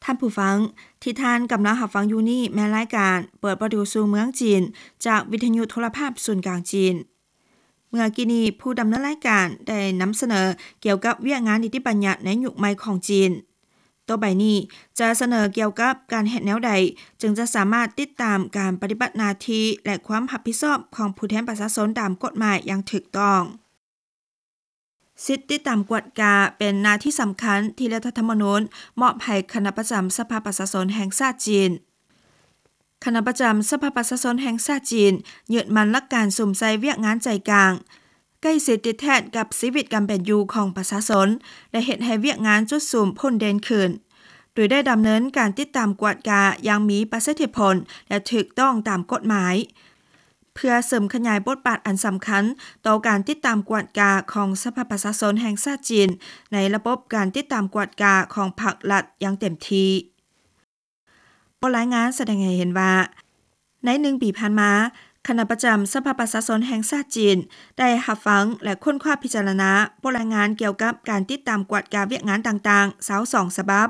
ທ່ານຜູ້ຟັງ ທີ່ທ່ານກຳລັງຮັບຟັງຢູ່ນີ້ແມ່ນລາຍການເປີດປະຕູສູ່ເມືອງຈີນ ຈາກວິທະຍຸໂທລະພາບສູນກາງຈີນ. ເມື່ອກີ້ນີ້ ຜູ້ດຳເນີນລາຍການໄດ້ນຳສະເໜີກ່ຽວກັບວຽກງານນິຕິບັນຍັດໃນຍຸກໃໝ່ຂອງຈີນ. ຕໍ່ໄປນີ້ຈະສະເໜີກ່ຽວກັບການເຮັດແນວໃດ ຈຶ່ງຈະສາມາດຕິດຕາມການປະຕິບັດໜ້າທີ່ ແລະ ຄວາມຮັບຜິດຊອບຂອງຜູ້ແທນປະຊາຊົນຕາມກົດໝາຍຢ່າງຖືກຕ້ອງ. ສິດຕິດຕາມກວດກາເປັນໜ້າທີ່ສຳຄັນທີ່ລັດຖະທຳມະນູນມອບໃຫ້ຄະນະປະຈຳສະພາປະຊາຊົນແຫ່ງຊາດຈີນ. ຄະນະປະຈຳສະພາປະຊາຊົນແຫ່ງຊາດຈີນ ຍຶດໝັ້ນຫຼັກການສຸມໃສ່ວຽກງານໃຈກາງ ໃກ້ຊິດຕິດແທດກັບຊີວິດການເປັນຢູ່ຂອງປະຊາຊົນ ແລະ ເຮັດໃຫ້ວຽກງານຈຸດສຸມພົ້ນເດັ່ນຂຶ້ນ ໂດຍໄດ້ດຳເນີນການຕິດຕາມກວດກາຢ່າງມີປະສິດທິຜົນ ແລະ ຖືກຕ້ອງຕາມກົດໝາຍ. ເພື່ອເສີມຂະຫຍາຍບົດບາດອັນສຳຄັນຕໍ່ການຕິດຕາມກວດກາຂອງສະພາປະຊາຊົນແຫ່ງຊາດຈີນ ໃນລະບົບການຕິດຕາມກວດກາຂອງພັກລັດຢ່າງເຕັມທີ່. ບົດລາຍງານສະແດງໃຫ້ເຫັນວ່າ ໃນໜຶ່ງປີຜ່ານມາ, ຄະນະປະຈຳສະພາປະຊາຊົນແຫ່ງຊາດຈີນ ໄດ້ຮັບຟັງ ແລະ ຄົ້ນຄວ້າພິຈາລະນາບົດລາຍງານກ່ຽວກັບການຕິດຕາມກວດກາວຽກງານຕ່າງໆ ຊາວສອງສະບັບ,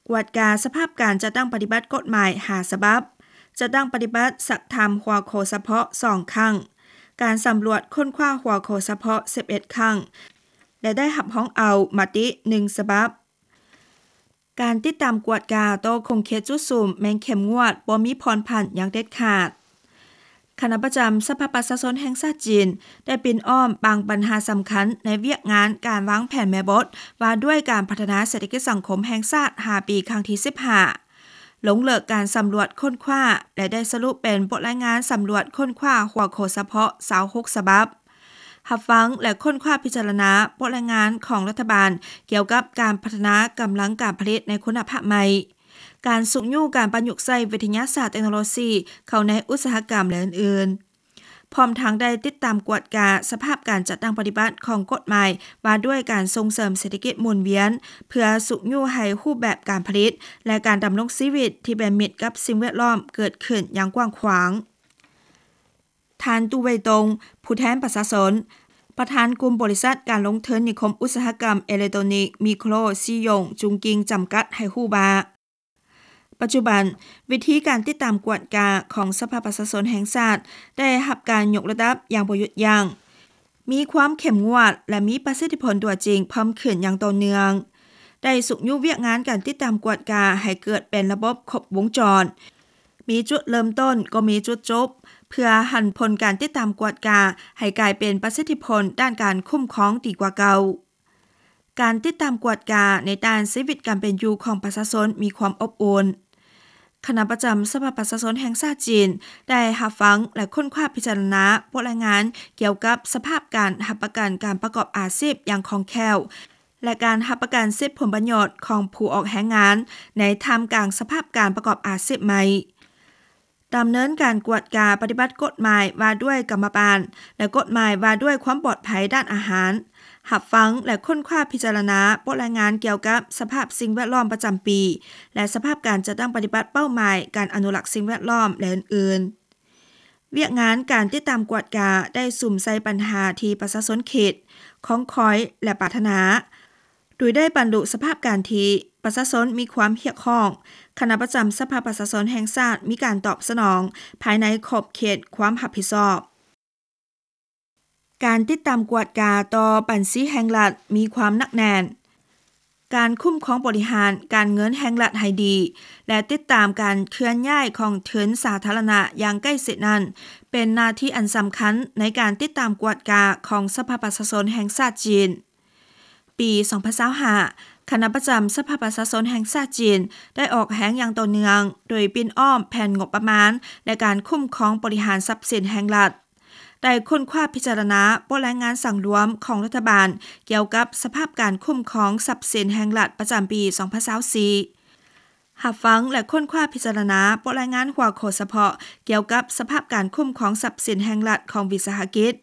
ກວດກາສະພາບການຈັດຕັ້ງປະຕິບັດກົດໝາຍຫ້າສະບັບ, ຈັດຕັ້ງປະຕິບັດສັກຖາມຫົວຂໍ້ສະເພາະສອງຄັ້ງ, ການສຳຫຼວດຄົ້ນຄວ້າຫົວຂໍ້ສະເພາະສິບເອັດຄັ້ງ ແລະ ໄດ້ຮັບຮອງເອົາມະຕິໜຶ່ງສະບັບ. ການຕິດຕາມກວດກາຕໍ່ຂົງເຂດຈຸດສຸມແມ່ນເຂັ້ມງວດ, ບໍ່ມີຜ່ອນຜັນຢ່າງເດັດຂາດ. ຄະນະປະຈຳສະພາປະຊາຊົນແຫ່ງຊາດຈີນ ໄດ້ປິ່ນອ້ອມບາງບັນຫາສຳຄັນໃນວຽກງານການວາງແຜນແມ່ບົດວ່າດ້ວຍການພັດທະນາເສດຖະກິດສັງຄົມແຫ່ງຊາດຫ້າປີຄັ້ງທີສິບຫ້າ, ລົງເລິກການສຳຫຼວດຄົ້ນຄວ້າ ແລະ ໄດ້ສະຫຼຸບເປັນບົດລາຍງານສຳຫຼວດຄົ້ນຄວ້າຫົວຂໍ້ສະເພາະຊາວຫົກສະບັບ, ຮັບຟັງ ແລະ ຄົ້ນຄວ້າພິຈາລະນາບົດລາຍງານຂອງລັດຖະບານກ່ຽວກັບການພັດທະນາກຳລັງການຜະລິດໃນຄຸນນະພາບໃໝ່, ການຊຸກຍູ້ການປະຍຸກໃຊ້ວິທະຍາສາດເຕັກໂນໂລຊີເຂົ້າໃນອຸດສາຫະກຳ ແລະ ອື່ນໆ. ພ້ອມທັງໄດ້ຕິດຕາມກວດກາສະພາບການຈັດຕັ້ງປະຕິບັດຂອງກົດໝາຍວ່າດ້ວຍການສົ່ງເສີມເສດຖະກິດໝູນວຽນ ເພື່ອຊຸກຍູ້ໃຫ້ຮູບແບບການຜະລິດ ແລະ ການດຳລົງຊີວິດທີ່ເປັນມິດກັບສິ່ງແວດລ້ອມເກີດຂຶ້ນຢ່າງກວ້າງຂວາງ. ທ່ານ ຕູ້ ເຫວີຍຕົງ ຜູ້ແທນປະຊາຊົນ, ປະທານກຸ່ມບໍລິສັດການລົງທຶນນິຄົມອຸດສາຫະກຳເອເລັກໂຕນິກ ມິໂຄຣ ຊີຢົງ ຈຸງກິງ ຈຳກັດ ໃຫ້ຮູ້ວ່າ ປັດຈຸບັນ, ວິທີການຕິດຕາມກວດກາຂອງສະພາປະຊາຊົນແຫ່ງຊາດ ໄດ້ຮັບການຍົກລະດັບຢ່າງບໍ່ຢຸດຢັ້ງ, ມີຄວາມເຂັ້ມງວດ ແລະ ມີປະສິດທິຜົນຕົວຈິງເພີ່ມຂຶ້ນຢ່າງຕໍ່ເນື່ອງ, ໄດ້ຊຸກຍູ້ວຽກງານການຕິດຕາມກວດກາໃຫ້ເກີດເປັນລະບົບຄົບວົງຈອນ, ມີຈຸດເລີ່ມຕົ້ນກໍມີຈຸດຈົບ, ເພື່ອຫັນຜົນການຕິດຕາມກວດກາໃຫ້ກາຍເປັນປະສິດທິຜົນດ້ານການຄຸ້ມຄອງດີກວ່າເກົ່າ. ການຕິດຕາມກວດກາໃນດ້ານຊີວິດການເປັນຢູ່ຂອງປະຊາຊົນມີຄວາມອົບອຸ່ນ. ຄະນະປະຈຳສະພາປະຊາຊົນແຫ່ງຊາດຈີນ ໄດ້ຮັບຟັງ ແລະ ຄົ້ນຄວ້າພິຈາລະນາບົດລາຍງານກ່ຽວກັບສະພາບການຮັບປະກັນການປະກອບອາຊີບຢ່າງຄ່ອງແຄ້ວ ແລະ ການຮັບປະກັນສິດຜົນປະໂຫຍດຂອງຜູ້ອອກແຮງງານໃນທ່າມກາງສະພາບການປະກອບອາຊີບໃໝ່. ດຳເນີນການກວດກາປະຕິບັດກົດໝາຍວ່າດ້ວຍກຳມະບານ ແລະ ກົດໝາຍວ່າດ້ວຍຄວາມປອດໄພດ້ານອາຫານ, ຮັບຟັງ ແລະ ຄົ້ນຄວ້າພິຈາລະນາບົດລາຍງານກ່ຽວກັບສະພາບສິ່ງແວດລ້ອມປະຈຳປີ ແລະ ສະພາບການຈັດຕັ້ງປະຕິບັດເປົ້າໝາຍການອະນຸລັກສິ່ງແວດລ້ອມ ແລະ ອື່ນໆ. ວຽກງານການຕິດຕາມກວດກາໄດ້ສຸມໃສ່ບັນຫາທີ່ປະຊາຊົນຄິດ, ຄອງຄອຍ ແລະ ປາດຖະໜາ, ໂດຍໄດ້ບັນລຸສະພາບການທີ່ປະຊາຊົນມີຄວາມຮຽກຮ້ອງ, ຄະນະປະຈຳສະພາປະຊາຊົນແຫ່ງຊາດມີການຕອບສະໜອງພາຍໃນຂອບເຂດຄວາມຮັບຜິດຊອບ. ການຕິດຕາມກວດກາຕໍ່ບັນຊີແຫ່ງລັດມີຄວາມໜັກແໜ້ນ. ການຄຸ້ມຄອງບໍລິຫານການເງິນແຫ່ງລັດໃຫ້ດີ ແລະ ຕິດຕາມການເຄື່ອນຍ້າຍຂອງທຶນສາທາລະນະຢ່າງໃກ້ຊິດນັ້ນ ເປັນໜ້າທີ່ອັນສຳຄັນໃນການຕິດຕາມກວດກາຂອງສະພາປະຊາຊົນແຫ່ງຊາດຈີນ. ປີສອງພັນຊາວຫ້າ ຄະນະປະຈຳສະພາປະຊາຊົນແຫ່ງຊາດຈີນ ໄດ້ອອກແຮງຢ່າງຕໍ່ເນື່ອງ ໂດຍປິ່ນອ້ອມແຜນງົບປະມານ ແລະ ການຄຸ້ມຄອງບໍລິຫານຊັບສິນແຫ່ງລັດ, ໄດ້ຄົ້ນຄວ້າພິຈາລະນາບົດລາຍງານສັງລວມຂອງລັດຖະບານກ່ຽວກັບສະພາບການຄຸ້ມຄອງຊັບສິນແຫ່ງລັດປະຈຳປີສອງພັນຊາວສີ່, ຮັບຟັງ ແລະ ຄົ້ນຄວ້າພິຈາລະນາບົດລາຍງານຫົວຂໍ້ສະເພາະກ່ຽວກັບສະພາບການຄຸ້ມຄອງຊັບສິນແຫ່ງລັດຂອງວິສາຫະກິດ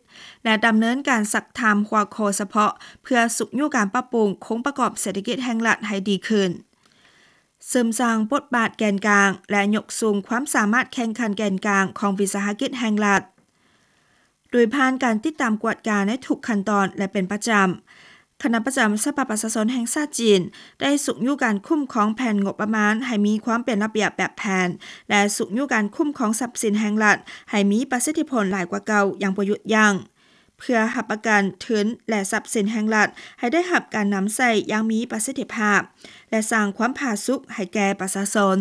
ແລະ ດຳເນີນການຊັກຖາມຫົວຂໍ້ສະເພາະ ເພື່ອຊຸກຍູ້ການປັບປຸງໂຄງປະກອບເສດຖະກິດແຫ່ງລັດໃຫ້ດີຂຶ້ນ, ເສີມສ້າງບົດບາດແກນກາງ ແລະ ຍົກສູງຄວາມສາມາດແຂ່ງຂັນແກນກາງຂອງວິສາຫະກິດແຫ່ງລັດ. ໂດຍຜ່ານການຕິດຕາມກວດກາໃນທຸກຂັ້ນຕອນ ແລະ ເປັນປະຈຳ, ຄະນະປະຈຳສະພາປະຊາຊົນແຫ່ງຊາດຈີນ ໄດ້ຊຸກຍູ້ການຄຸ້ມຄອງແຜ່ນງົບປະມານໃຫ້ມີຄວາມເປັນລະບຽບແບບແຜນ ແລະ ຊຸກຍູ້ການຄຸ້ມຄອງຊັບສິນແຫ່ງລັດໃຫ້ມີປະສິດທິຜົນຫຼາຍກວ່າເກົ່າຢ່າງບໍ່ຢຸດຢັ້ງ ເພື່ອຮັບປະກັນທຶນ ແລະ ຊັບສິນແຫ່ງລັດໃຫ້ໄດ້ຮັບການນຳໃຊ້ຢ່າງມີປະສິດທິພາບ ແລະ ສ້າງຄວາມຜາສຸກໃຫ້ແກ່ປະຊາຊົນ.